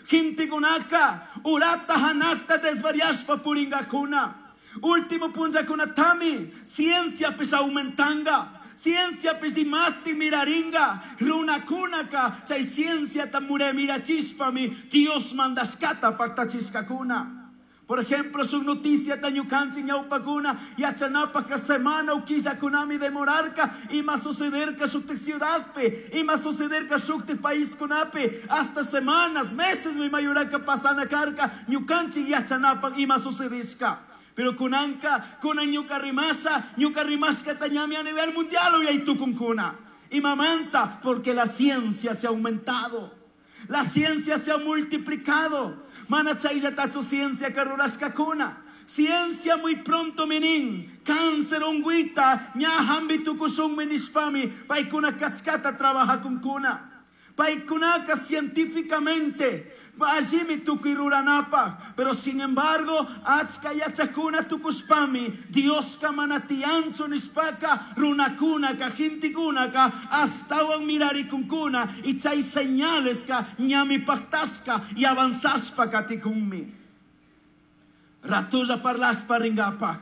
Gentekunaka urata hanakta desvariashpa puringakuna. Último punllakunatami cienciapish aumentanga. Cienciapish dimasti miraringa. Runakunaka chay cienciata mirachishpami Dios mandashkata paktachishkakuna. Por ejemplo, su noticia ñukanchik ñawpakuna yachanapaka semana o killakunami demorarka ima sucederka shuktik ciudadpi, ima sucederka shuktik paiskunapi, hasta semanas, meses mi mayuraka pasana karka ñukanchik yachanapak ima sucedishka. Pero kunanka, kunan ñuka rimasha, ñuka rimashkata ñami a nivel mundial uyaytukunkuna. Imamanta, porque la ciencia se ha aumentado. La ciencia se ha multiplicado. Mana chayllatachu ciencia ka rurashkakuna. Ciencia muy pronto minin. Cáncer ungüita, ña hambi tukushunmi nishpami, paykuna kachkata trabajakunkuna. Paykunaka científicamente allimi tukuy ruranapaj. Pero sin embargo, achka yachakuna tukushpami, Dioska mana tiyanchu nishpaka, runakunaka, gentekunaka, ashtawan mirarikunkuna, y chay señales ka ñami paktashka y avanzashpa katikunmi. Ratulla parlashpa ringapaj.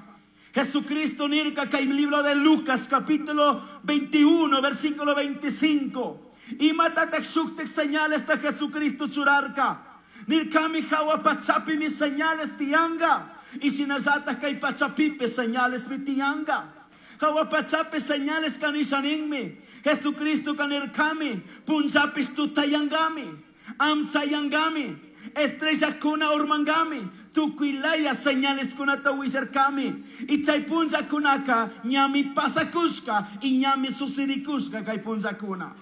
Jesucristo nirka kay libro de Lucas capítulo 21 versículo 25. Imatatak shuktik señales ta Jesucristo churarka. Nirkami hawa pachapi mi señales tianga. Y shinallata kay pachapipi señales mi tianga. Hawa pachapi señales kanishaninmi. Jesucristo kanirkami. Punchapis tutayangami. Amsayangami. Estrella kuna urmangami. Tukuylaya señales kunata willarkami. Y chay punlla kunaka ñami pasakushka y ñami sucedikushka kay punlla kuna.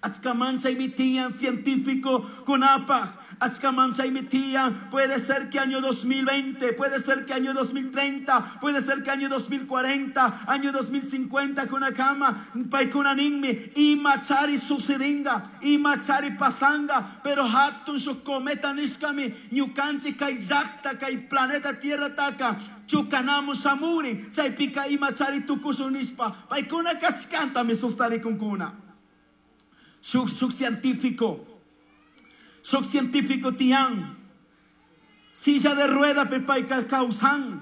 Achkaman chaymi tiyan científico kunapaj. Achkaman chaymi tiyan. Puede ser que año 2020, puede ser que año 2030, puede ser que año 2040, año 2050 kunakama, paykuna ninmi, imachari sucedinga, imachari pasanga, pero hatun shuk cometa nishkami, ñukanchik kay llakta, kay planeta Tierra taka, chukanamu shamurin, chaypika imachari tukushun nishpa, paykuna kachkantami sustarikunkuna. Shuk, shuk científico, shuk científico tian, silla de rueda payka kawsan,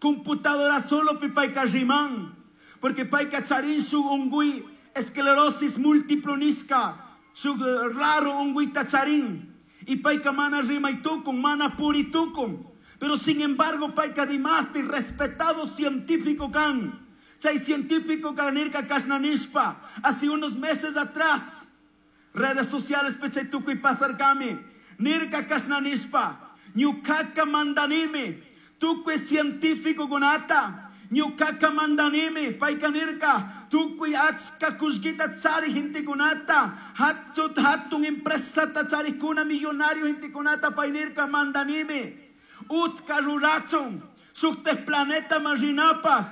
computadora solo payka riman, porque payka charin shuk ungüi, esclerosis múltiplo nishka, shuk raro ungüita charin, y payka mana rimay tukun, mana puri tukun, pero sin embargo payka dimasti respetado científico kan. Chay científico kanirka kashna nishpa, hace unos meses atrás, redes sociales pechay tukuy pasarkami, nirka kashna nishpa, ñukaka mandanimi, tukuy científico kunata, ñukaka mandanimi, payka nirka, tukuy achka kullkita chari gentekunata, hatut hatun empresata charikuna millonario gentekunata, pay nirka mandanimi, utka rurachun, shuktek planeta marinapaj,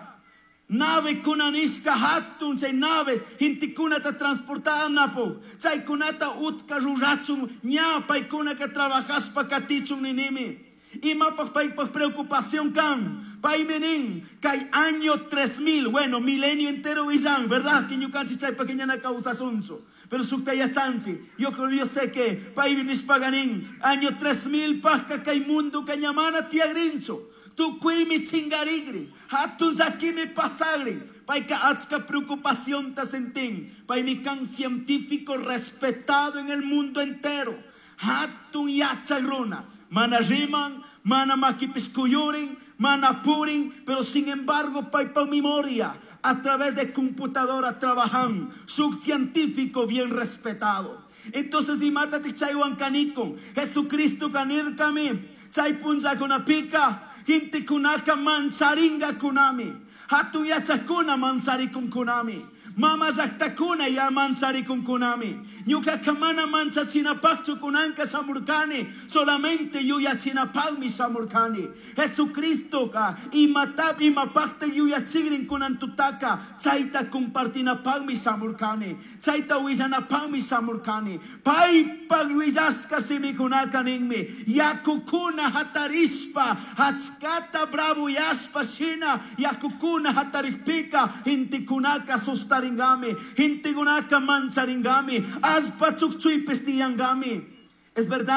nave kunanishka hatun chay naves gentekunata transportanapo chaykunata utka rurachun ña paykunaka trabajashpa katichun ninimi. Imapaj paypaj preocupación kan paymi nin kay año 3000, bueno, milenio entero illan, ¿verdad? Que ñukanchik chaypaj ñana kawsasunchu. Pero shukta yachanchik, yo creo, yo sé que paymi nishpaga nin año 3000 pajka kay mundo ñamana tiyagrinchu. Tukuymi chingarigri, hatun llakimi pasagri, payka achka preocupación ta sentin, paymi kan científico respetado en el mundo entero, hatun yachak runa, mana riman, mana makipis kuyurin, mana purin, pero sin embargo paypa memoria, a través de computadora trabajan, shuk científico bien respetado. Entonces imatatik chaywan kanikun, Jesucristo kanirkami, chay punllakunapika, gentekunaka mancharinga kunami, hatun yachakuna mancharikun kunami, mama llaktakuna ya mancharikun kunami, ñukaka mana manchachinapakchu kunanka shamurkani, solamente yuyachinapakmi shamurkani. Jesucristoka imata imapakta yuyachigrin kunan tutaka, chayta compartinapakmi shamurkani, chayta willanapakmi shamurkani. Paypak willashka shimikunaka ninmi, yakukuna hatarishpa, achkata bravo yashpa shina, yakukuna hatarikpika, gentekunaka sustaringami, gentekunaka mancharingami, allpa chukchuypis tiyangami. Es verdad.